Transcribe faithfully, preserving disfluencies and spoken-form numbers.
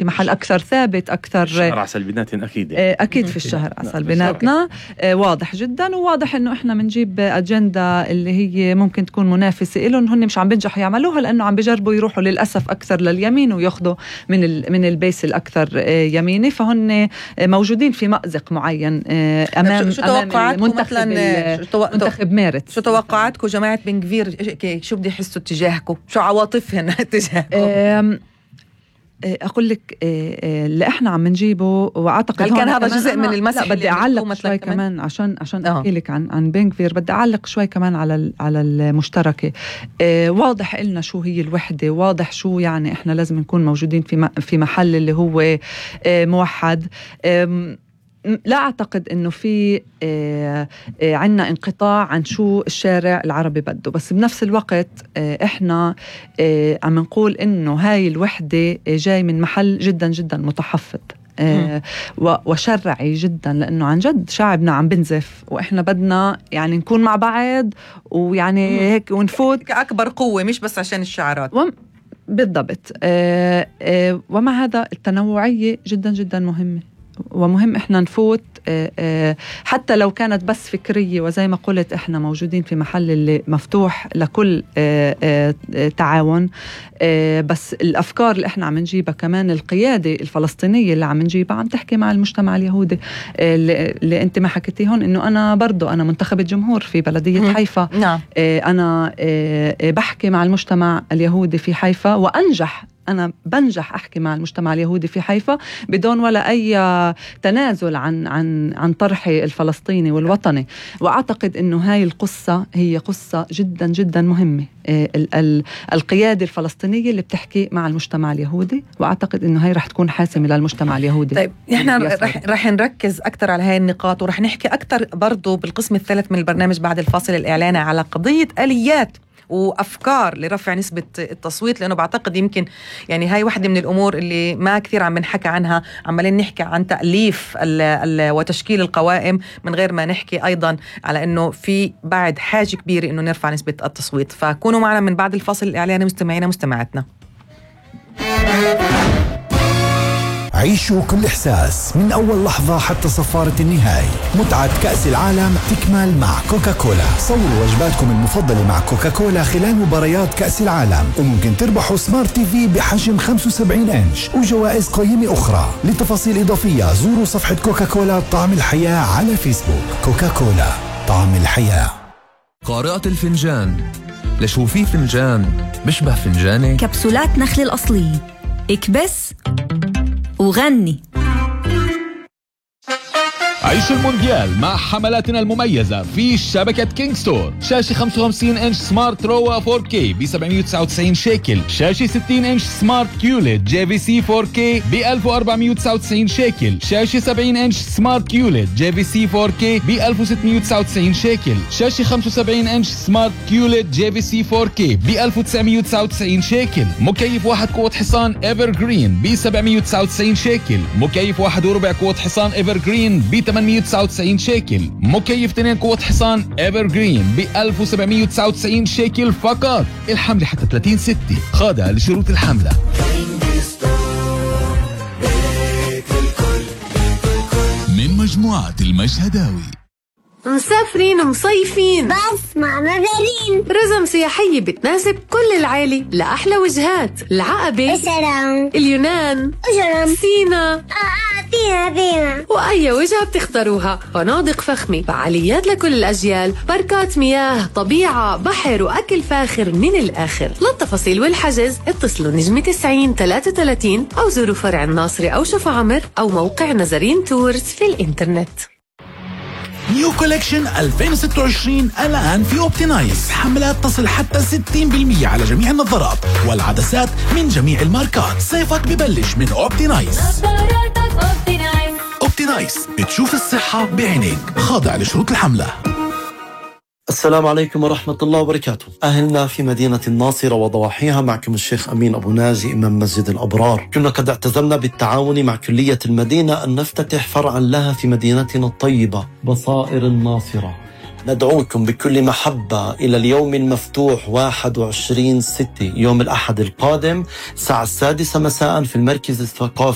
محل أكثر ثابت أكثر. الشهر عسل بيناتنا أكيد أكيد في الشهر عسل بيناتنا واضح جدا، وواضح إنه إحنا منجيب أجندة اللي هي ممكن تكون منافسة إلهم، هن مش عم بنجحوا يعملوها لأنه عم بيجربوا يروحوا للأسف أكثر لليمين وياخذوا من ال من البيس الأكثر يميني، فهن موجودين في مأزق معين أمام شو توقعاتكم منتخب منتخب مارس؟ شو توقعاتكم جماعة بن كفير؟ شو بدي يحسوا تجاهكم؟ شو عواطفهم تجاهكم؟ أقول لك اللي إحنا عم نجيبه، وأعتقد كان هذا جزء من المسح. بدي أعلق شوي كمان عشان عشان أحكي لك عن عن بن كفير. بدي أعلق شوي كمان على على المشتركة. واضح إلنا شو هي الوحدة، واضح شو يعني إحنا لازم نكون موجودين في في محل اللي هو موحد. لا أعتقد أنه في عنا انقطاع عن شو الشارع العربي بده، بس بنفس الوقت إحنا عم نقول أنه هاي الوحدة جاي من محل جدا جدا متحفظ وشرعي جدا، لأنه عن جد شعبنا عم بنزف، وإحنا بدنا يعني نكون مع بعض ويعني هيك ونفوت كأكبر قوة، مش بس عشان الشعارات. وم بالضبط. ومع هذا التنوعية جدا جدا مهمة، ومهم إحنا نفوت حتى لو كانت بس فكرية، وزي ما قلت إحنا موجودين في محل اللي مفتوح لكل تعاون، بس الأفكار اللي إحنا عم نجيبها كمان القيادة الفلسطينية اللي عم نجيبها عم تحكي مع المجتمع اليهودي اللي أنت ما حكيتيهن، إنه أنا برضو أنا منتخبة جمهور في بلدية حيفا. نعم. أنا بحكي مع المجتمع اليهودي في حيفا، وأنجح أنا بنجح أحكي مع المجتمع اليهودي في حيفا بدون ولا أي تنازل عن عن عن طرحي الفلسطيني والوطني. وأعتقد إنه هاي القصة هي قصة جدا جدا مهمة، ال ال القيادة الفلسطينية اللي بتحكي مع المجتمع اليهودي، وأعتقد إنه هاي رح تكون حاسمة للمجتمع اليهودي. طيب إحنا رح, رح نركز أكتر على هاي النقاط، ورح نحكي أكتر برضو بالقسم الثالث من البرنامج بعد الفاصل الإعلاني على قضية آليات وأفكار لرفع نسبة التصويت، لأنه بعتقد يمكن يعني هاي واحدة من الأمور اللي ما كثير عم نحكي عنها. عمالين نحكي عن تأليف ال ال وتشكيل القوائم من غير ما نحكي أيضا على أنه في بعد حاجة كبيرة أنه نرفع نسبة التصويت. فكونوا معنا من بعد الفاصل الإعلاني مستمعينا مستمعاتنا. عيشوا كل إحساس من أول لحظة حتى صفارة النهاية. متعة كأس العالم تكمل مع كوكاكولا. صوروا وجباتكم المفضلة مع كوكاكولا خلال مباريات كأس العالم، وممكن تربحوا سمارت تي في بحجم خمسة وسبعين إنش وجوائز قيمة أخرى. لتفاصيل إضافية زوروا صفحة كوكاكولا طعم الحياة على فيسبوك. كوكاكولا طعم الحياة. قارئة الفنجان، لشو في فنجان بشبه فنجاني؟ كبسولات نخل الأصلية، اكبس وغني. عيش المونديال مع حملاتنا المميزة في شبكة كينج ستور. شاشة خمسة وخمسين إنش سمارت روا فور كي ب سبعمية وتسعة وتسعين شيكل. شاشة ستين إنش سمارت كيوليد جي في سي فور كي ب ألف وأربعمية وتسعة وتسعين شيكل. شاشة سبعين إنش سمارت كيوليد جي في سي فور كي ب ألف وستمية وتسعة وتسعين شيكل. شاشة خمسة وسبعين إنش سمارت كيوليد جي في سي فور كي ب ألف وتسعمية وتسعة وتسعين شيكل. مكيف واحد قوة حصان ايفر جرين ب سبعمية وتسعة وتسعين شيكل. مكيف واحد وربع قوة حصان ايفر جرين ب ثمانمية وتسعة وتسعين شيكل. مكيف اثنين قوة حصان ايفر جرين ب ألف وسبعمية وتسعة وتسعين شيكل فقط. الحملة حتى ثلاثين ستة، خاضعة لشروط الحملة. من مجموعة المشهداوي. مسافرين مصيفين بس مع مدارين رزم سياحية بتناسب كل العائلة لأحلى وجهات: العقبة، السلام، اليونان، الجرم، سينا. آه آه فينا فينا وأي وجهة بتختاروها. فنادق فخمة، فعاليات لكل الأجيال، باركات مياه، طبيعة، بحر وأكل فاخر من الآخر. للتفاصيل والحجز اتصلوا نجمة تسعين ثلاثة وثلاثين أو زوروا فرع الناصري أو شفا عمر أو موقع نزرين تورز في الإنترنت. نيو كولكشن ألفين وستة وعشرين الآن في أوبتينايز. حملات تصل حتى ستين بالمية على جميع النظارات والعدسات من جميع الماركات. صيفك ببلش من أوبتينايز. أوبتينايز، بتشوف الصحة بعينيك. خاضع لشروط الحملة. السلام عليكم ورحمة الله وبركاته. أهلنا في مدينة الناصرة وضواحيها، معكم الشيخ أمين أبو ناجي إمام مسجد الأبرار. كنا قد اعتزمنا بالتعاون مع كلية المدينة أن نفتتح فرعا لها في مدينتنا الطيبة بصائر الناصرة. ندعوكم بكل محبة إلى اليوم المفتوح واحد وعشرين ستة يوم الأحد القادم الساعة السادسة مساء في المركز الثقافي